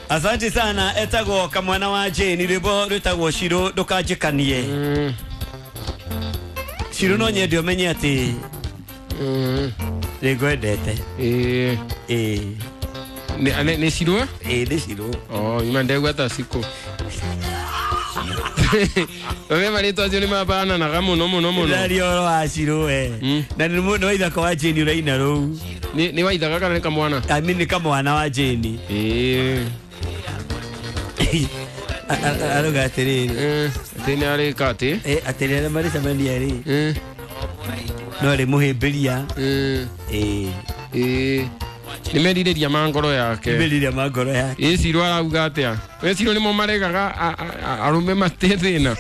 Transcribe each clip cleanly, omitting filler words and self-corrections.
Asante sana etagwo kamwana wa Jane rwimbo rwitagwo Shiro ndukanjikanie. Shiro no nyende umenye ati nĩngwendete. Ĩĩ. Nĩ Shiro? Ĩĩ nĩ Shiro. Oh, ima ndegwa ta Siko. Wewe marĩtwa acio nĩ mabananaga mũno mũno mũno. Ndaria ũhoro wa Shiro we. Na nĩ waithaka wa Jane ũraina rũu. Nĩ waithaka kana nĩ kamwana? I mean nĩ kamwana wa Jane. Ĩĩ. Arauga atĩrĩrĩ. Atĩ nĩ arĩka atĩ? Atĩ rĩrĩa marĩcemania rĩ. No arĩ mũhĩmbĩria. Ĩĩ. Ĩĩ. Nĩ merirĩria ma ngoro yake. Nĩ merirĩria ma ngoro yake. Ĩ Shiro arauga atĩa? We Shiro nĩmo maregaga arũme matĩ thĩna.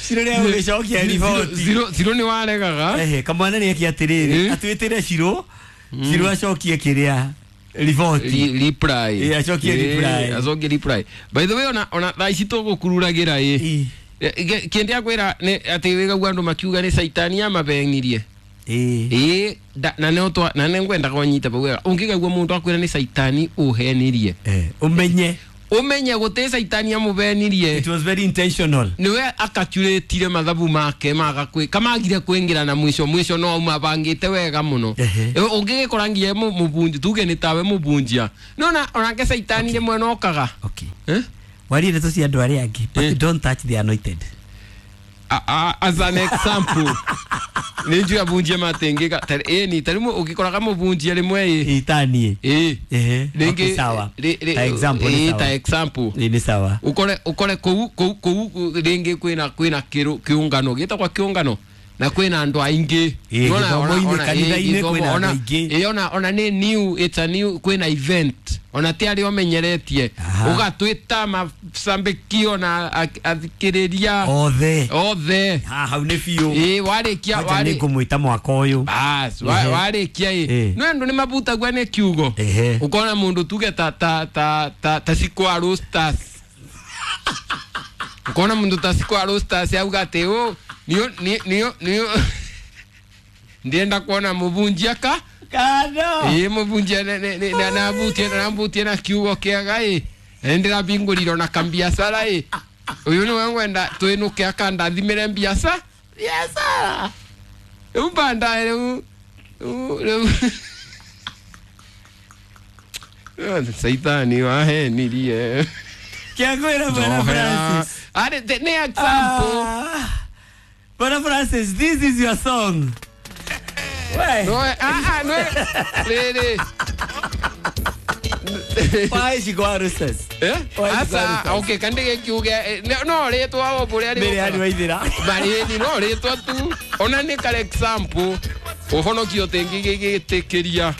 Shiro nĩ agũgĩcokia riboti. Shiro nĩ waregaga. Ehe, kamwana nĩ eke atĩrĩrĩ, atwĩtĩre Shiro, Shiro acokie kĩrĩa riboti. Reply. Ĩ, acokie reply. Acokie reply. By the way, ona thaa ici tũgũkururagĩra ĩ. Kĩndĩ akwĩra nĩ atĩ wĩgagu andũ makiuga nĩ caitani amabenirie. Ĩĩ, na nĩ ũtwa na nĩ ngwendaga ũnyite bau wega. Ũngĩgaigua mũndũ akwĩra nĩ caitani ũhenirie. Ũmenye. Ũmenye gũtĩ caitani amũbenirie. It was very intentional. Nĩwe akacuretire mathabu make maga kwĩ kamagire kwĩngĩra na mwisho mwisho no auma bangĩte wega mũno. Ũngĩgĩkora nginya mũbunji tuge nĩ tawe mũbunjia. Nĩwona onake caitani rĩmwe nokaga. Okay. Warie ndeto cia andũ arĩa angĩ, but don't touch the anointed. As an example. Nĩ njũĩ abunjia matengĩka ĩni ta rĩmwe ũngĩkoraga mũbunjia rĩmwe ĩ itanie ĩ rĩngĩ sawa ta example nĩ sawa ta example nĩ sawa ukore kũu kũu kũu rĩngĩ kwĩna kĩũngano gĩtagwo kĩũngano na kwĩna andũ aingĩ kanitha-inĩ kwĩna andũ aingĩ ĩ ona nĩ new, it's a new kwĩna event ona ti arĩa ũmenyeretie ũgatwĩta macambĩkio na athikĩrĩria othe othe hau nĩ biũ ĩ warĩkia nĩ ngũmwĩta mwaka ũyũ bas warĩkia ĩ no andũ nĩ mabutagua nĩ kiugo ũkona mũndũ tuge ta ta ta ta ta Siko a Roasters ũkona mũndũ ta Siko a Roasters auga atĩ ũ niyo ndienda kuona mũbunjia ka kano ĩ mũbunjia na na kiugo kĩega ĩ na ndĩrabingũrire na kambiacara ĩ ũyũ nĩwe ngwenda twĩnũke akandathimĩre mbiaca biacara rĩu bandae rĩu rĩu Saitani wahenirie kĩakwĩra Bwana Francis arĩ nĩ example. Bwana Francis, this is your song. Why? No, no. Really. Why she go Roasters? Eh? Asa, okay, kandige kiuge no rĩtwa o bũrĩa rĩ. Mbere waithira. Bari no rĩtwa tu. Ona nĩ ka example. Ũhonokio tĩngĩgĩtĩkĩria.